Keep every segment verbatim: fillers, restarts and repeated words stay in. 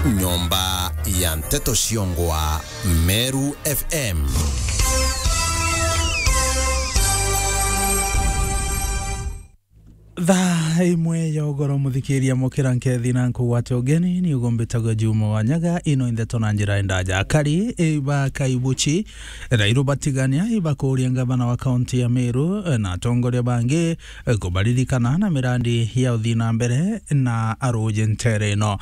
Nyomba ya nteto ciongwa Meru F M. Thaa imwe ya ugoro, muthikiria, mukira nkethi na nkugwate ugeni, ni ugumbitagwa Juma wa Nyaga. Ino ndeto na njira ndaja. Akari, e, ba Kaibuchi, Rairu batigania ibakuria ngavana wa kaunti ya Meru, e, na atongoria bangi, e, kubaririkana na mirandi ya uthii na mbere na aruji ntere ino.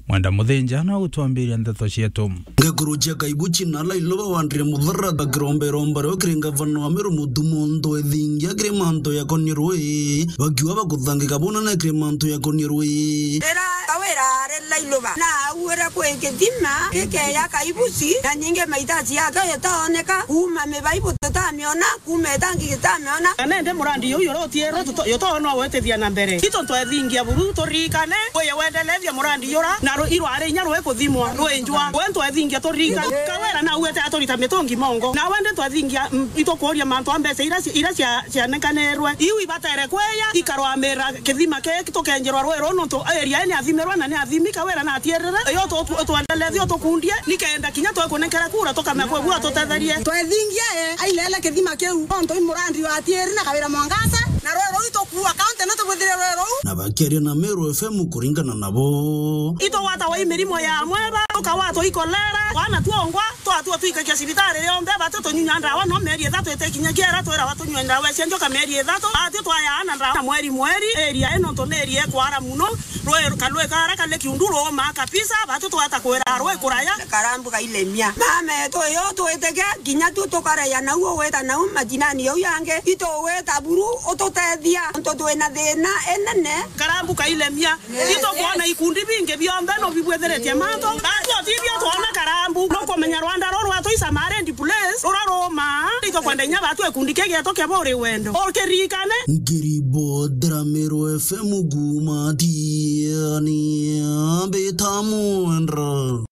Mwenda Muthinja na gutwambiria ndeto cietu. Ngekuru cia Kaibuchi na Lailoba wandire muthara bakiromba iromba rio kiri ngavana wa Meru Mutumo Ntwethingia kiri mantu yakonie rui, bakiuga bakuthangika bunene kiri mantu yakonie rui. Rira Kawira ari Lailoba na auire kwi kithima gikeya Kaibuchi, na nyingi maitaci yake itaoneka, kuuma mibaibu tutamiona, kuuma itangi gitamiona. Na nende murandi uyu uria utiirwe tuto-, yutoona gwitithia na mbere. Itu ntwethingia buru turirikane, uye wendelethia murandi yura, na ru-, irwari inya rwikuthimwa, rwinjwa. We ntwethingia turirikane. Kawira na uete aturita mitungi mongo. Na wende ntwethingia, mm, itukuria mantu a mbeca ira ci-, ira cia-, cianekanirwe. Iu ibatere kweya, ikarwamira kithima kii tukenjerwa rui ruu nontu area ni athimirwa na ni athimi. Kawira na atiirire, iyo tu-, tu-, twendelethie utukundie, nikenda kinya twekunenkera kura tukamea kwi bua tutetherie. Twethingia, e, ailele kithima kiu, nontu i murandi wa Atieri na Kawira Mwangaza, na rui ruu itukuua kaunti ni tubwithire rui ruu. Na bakiaria na Meru F M kuringana nabo. Itugwatagwa i mirimo ya amweba, tukagwatwa i kolera, twana twongwa, twatua twikagia cibitari yonthe, batu tunyunya ndawa no mieri ithatu itikinya kiera, twirawa tunyue ndawa cia njoka mieri ithatu, batu twayaa na ndawa na mweri mweri, area ino nontu ni area ikwara muno. Rui, karui kara kari kiundu ruumaa kabisa, batu twata kwira rui kuraya. Karambu kailemia. Mama etu uyu twitike, kinya tu tukaraya nau ugwita nau majinani jau yangi, itugwita buru ututethia, nontu twina thina inene. Karambu kailemia. Yes. Itukwona ikundi bingi bionthe no bibwithiritie mantu. Batu otibio twona Karambu. Nukumenya rwanda ruru rwatu i Samarian place, rura ruumaa. Itukwenda inya batu ikundi kii gietu kia buri wendo. Ukiririkane. Nkiribotera Meru F M kuuma Tiani, mbita Mwendra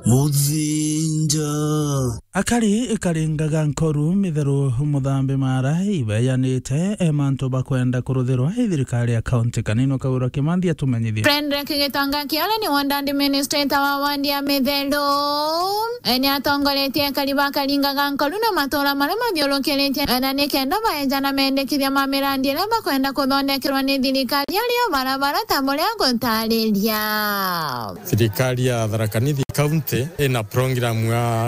Muthinja. Akari ikaringaga nkoru mitheru muthambi mara ibeyanite, e, mantu bakwenda kuruthirwa i thirikari ya kaunti. Kanini Kaura Kimanthi atumenyithie. Frederick Gitonga Kiole ni ward administrator wa ward ya Mitheru. E, ni atongoretie akari bakaringaga nkoru na matura maria mathiurukiritie, e, na nikenda baejana mendekithia ma mirandi iria bakwenda kuthondekerwa ni thirikari ario barabara ta buria gutariria. Thirikari ya Tharaka Nithi County ina program ya